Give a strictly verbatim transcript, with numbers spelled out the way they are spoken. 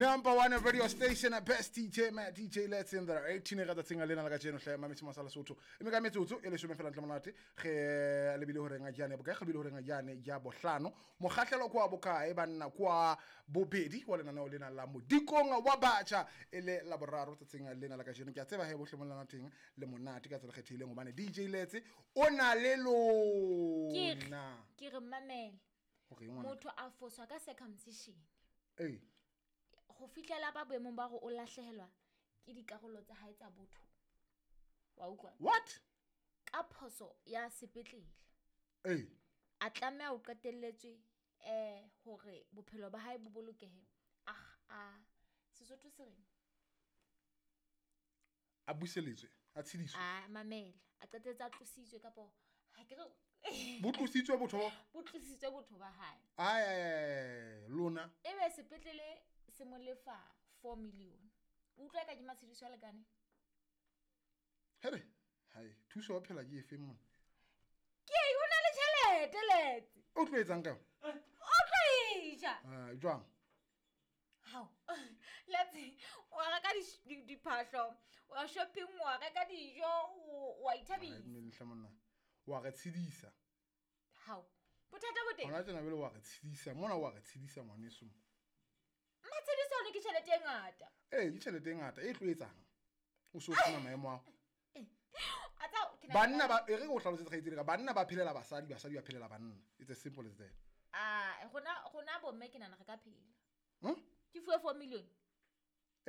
Number one radio station at best D J Matt, D J Let's in there. eighteen e rata tsenga lena la kajeno hle mametse masala Sotho. E me ka metsotso e leshome fela ntle monate ge lebile hore nga jane bokae lebile hore nga jane ya bohlano. Mokgahlelo kwa bokae banna kwa bobedi wa lenaneo lena la Modikong wa Batjha e le la boraro tsatsing lena la kajeno. Ke a tseba he bohle mo lena teng le monate ka tsela kgethileng hobane D J Let's o na le lona. Ke re mamele. Hore ngwana motho a foswa ka circumcision. Eh. Go fihlela ba boemong ba go o lahlehelwa ke dikarolo tsa hae tsa botho. Wa utlwa? What? Ka phoso ya sepetlele. Eh. A tlameha ho qetelletswe eh hore bophelo ba hae bo bolokehe. Ah a Sesotho se reng? A buseletswe, a tshediswe. A mamela, a qetelletse a tlositswe kapo ha ke re bo tlositswe botho. Bo tlositswe botho ba hae. Ai ai lona. Ebe sepetlele se mo lefa four million. Utlwa ka ke matshediso a lekane. Here, hai, thuso wa phela ke efe mona? Ke o na le tjhelete Letse. O tlo etsang ka? O tlo eja. Ah, jwang? Hao. Letse, o reka di diphahlo, o shopping, o reka dijo, o a ithabisa. Mme monna. Wa re tshedisa. Hao. Bothata bo teng. Hona tjena bele wa re tshedisa, mona wa re tshedisa ngwaneso. Matshediso ne ke tjhelete e ngata. Eh, ke tjhelete e ngata e tlo etsang. O so funa maemo ao. A tsa ke banna ba e re go hlalosetsa kgaitsedi ka banna ba phelela basadi, basadi ba phelela banna. It's as simple as that. Ah, rona rona bomme ke nana re ka phela. Hm? Ke fuwe four million.